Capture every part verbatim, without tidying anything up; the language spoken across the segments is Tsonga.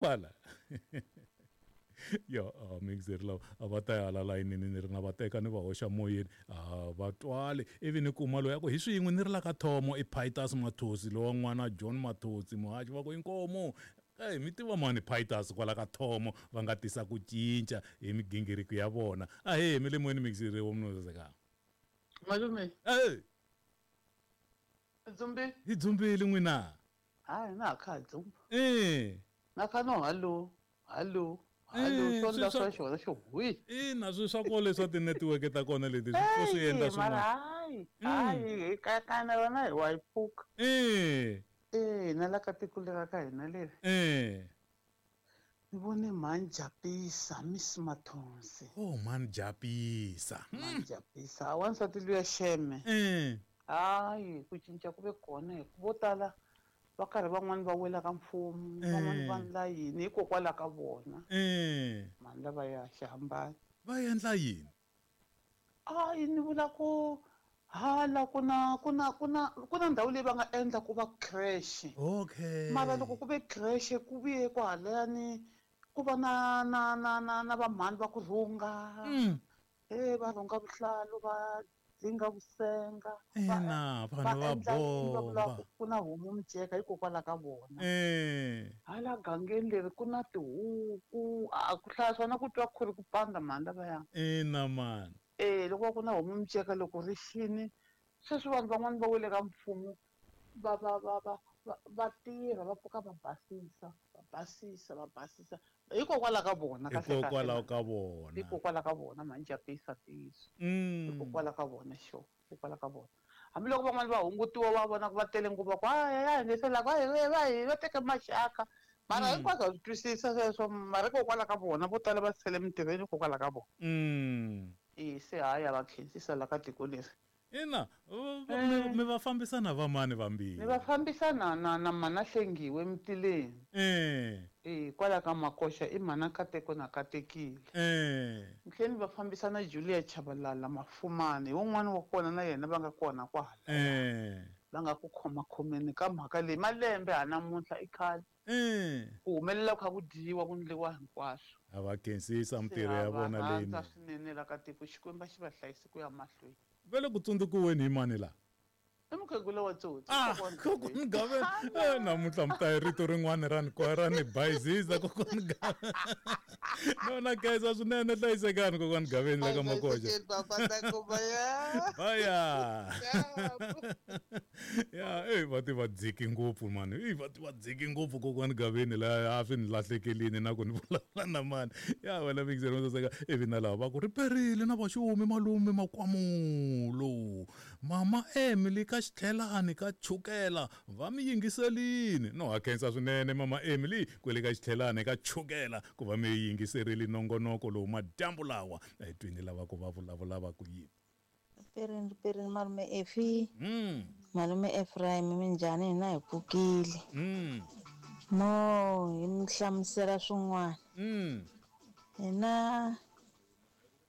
Kwala yo uh, mixer lava a va ta ya hala layinini ni ri na va teka ni va hoxa moyeni a va twali ivi ni kuma loyi a ku hi swin'we ni ri la ka thomo i Pitus Mathosi lowa n'wana John Mathosi muhaxi va ku inkomu Hey, mi tiva mani Pitus kwala ka thomo va nga tisa ku cinca hi migingiriko ya vona ahee mi le moyeni mixer wa munhu saseka malume hey dzumbi hi dzumbile n'wina hayi na kha dzumba eh na kha no hallo hallo hallo swo la swa xona xo hwi ina swi swa kona leswa ti-network ta kona leti swi swi endla swin'wana hayi hayi ka kana wena hi wa yi pfuka eh eh na la ka tiko lera ka hina leri eh ni vone Manjapisa Miss Mathonsi oh Manjapisa Manjapisa wansati luya xeme eh hayi ku cinca ku ve kona hi ku vo tala va karhi van'wani va wela ka mfumo van'wani va ndla yini hikokwalaho ka vona eh mani lava ya xihambana va endla yini hayi ni vula ku hala ku na ku na ku na ku na ndhawu leyi va nga endla ku va creche okay mara loko ku ve creche ku vuye kwahalayani ku va na na na na na vamhani va ku rhunga e va rhunga vuhlalu va dzinga vusenga ina vanhu va bomba ku na homu miceka hikokwalaho ka vona eh hala gangeni leri ku na tihuku a ku hlaya swona ku twa ku ri ku panda mhani lavaya ina mani eh loko ku na homu miceka loko ri xini sweswi vanhu van'wani va wele ka mfumo va va va va va tirha va pfuka va basisa va basisa va basisa hikokwalaho ka vona hikokwalaho ka vona hikokwalaho ka vona Manjapisa tiyiso mm hikokwalaho ka vona xo hikokwalaho ka vona hambiloko van'wani va hungutiwa va vona ku va tele ngopfu va ku hayi ya ngesela ku hayi va hi va teka maxaka mara hinkwaswo ha swi twisisa sweswo mara hikokwalaho ka vona vo tala va sele mintirhweni hikokwalaho ka vona mm e se hayi a va khensisa la ka tiko leri ina mi va fambisana va mani vambirhi mi va fambisana na na mana Hlengiwe Mtileni eh eh kwala ka Makoxa i mana Kateko na Katekile eh ntlheni va fambisana Julia Chabalala Mafumane wun'wana wa kona na yena va nga kona kwala eh va nga ku khoma khomeni ka mhaka leyi malembe ha namuntlha i khale eh ku humelela ku kha ku dyiwa ku ndliwa hinkwaswo a va khensisa mintirho ya vona leyi swinene la ka tiko Xikwembu xi va hlayise ku ya mahlweni vele ku tsundzukiweni hi mani la i mukhegula wa tsotsi ah kokwani Gaveni eh namuntlha mi ta hi rito rin'wana ra ni ra ni bayizisa kokwani Gaveni no na khensa swinene hlayisekani kokwani Gaveni la ka Makoxa baya ya eh va ti va dziki ngopfu mani eh va ti va dziki ngopfu kokwani Gaveni la a swi ni lahlekelini na ku ni vulavula na mani ya wena mixer mo saseka ivi na lava va ku ri perile na vaxumi malume makwamulo mama Emily ka xitlhelani ka chukela va mi yingiselini no ha khensa swinene mama Emily kwele ka xitlhelani ka chukela ku va mi yingiserile nongonoko lowu madyambu lawa etwini lava ku va vulavula va ku yini Perini perini malume Efi mm malume Ephraim minjhani hina hi pfukile mm mo hi mi hlamusela swin'wana mm hina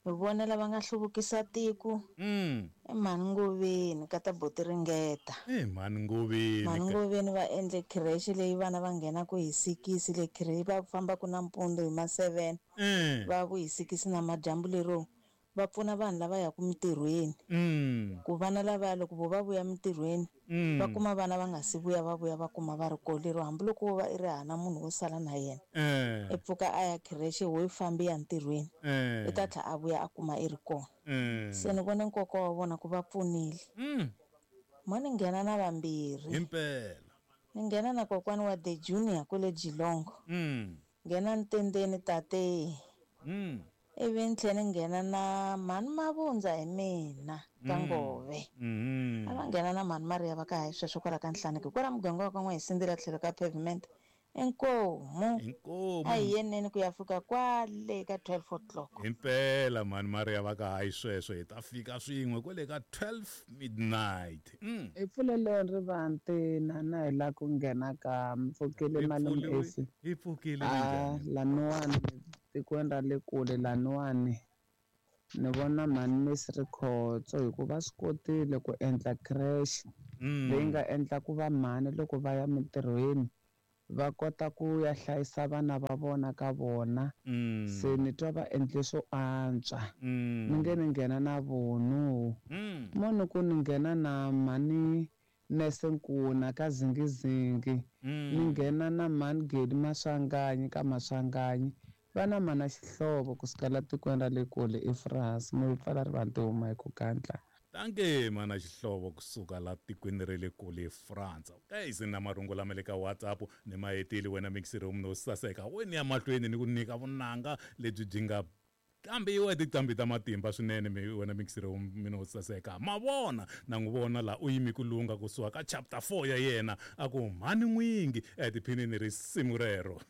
hi vona lava nga hluvukisa tiko mm i Mhani Ngoveni ka ta Boti Ringeta eh Mhani Ngoveni Mhani Ngoveni va endle creche leyi vana va nghenaku hi sikisi le creche va fambaku nampundzu hi ma seven eh va vu hi sikisi na madyambu lero va pfuna vanhu lava yaka mintirhweni mm ku vana lavaya loko vo va vuya mintirhweni mm va kuma vana va nga si vuya va vuya va kuma va ri kona lero hambiloko wo va i ri hana munhu wo sala na yena eh i pfuka a ya creche wo yi fambi ya ntirhweni eh i ta tlhela a vuya a kuma i ri kona eh se ni vone nkoka wa vona ku va pfunile mm mo ni nghena na vambirhi himpela ni nghena na kokwani wa The Junior kwale Geelong mm nghena ntendeni tate mm ivi ni tlhela ni nghena na Mhani Mavundza hi mina ka Ngove mm a va nghena na Mhani Maria va ka hayi sweswo kwala ka Nhlaneki kwala muganga wa ka N'wahisindzela tlhelo ka pavement inkomu inkomu a hi yeneni ku ya fika kwale ka twelve o'clock himpela Mhani Maria va ka hayi sweswo hi ta fika swin'we kwale ka twelve midnight mm hi pfuleleni rivanti na na hi la ku nghena ka mpfukile malume Efi hi pfukile ah minjhani laniwani tikweni ra le kule laniwani ni vona Mhani Miss Rikhotso hikuva swi kotile ku endla creche mm leyi nga endla ku va mhani loko va ya mintirhweni Va kota ku ya hlayisa vana va vona ka vona. Mm. Se ni twa va endle swo antswa. Mm. Ni nge ni nghena na vonu. Mm. Mo ni ku ni nghena na mhani Nese Nkuna ka Zingizingi. Mm. Ni nghena na mhani Gedi Maswanganyi ka Maswanganyi. Va na mana Xihlovo kusuka la tikweni ra le kule eFrance. Mo pfala rivanti huma hi ku gandla. Danke mana Xihlovo kusuka la tikweni ra le kule France. Okay, se na marungu lama le ka WhatsApp ni ma hetile wena mixer no saseka. Wena ya mahlweni ni ku nyika vunanga lebyi byi nga kambiwa tiqambi ta matimba swinene mi wena mixer mino saseka. Ma vona na n'wi vona la u yimi ku lunga kusuka ka chapter four ya yena a ku mhani n'wingi etiphinini risimu rero.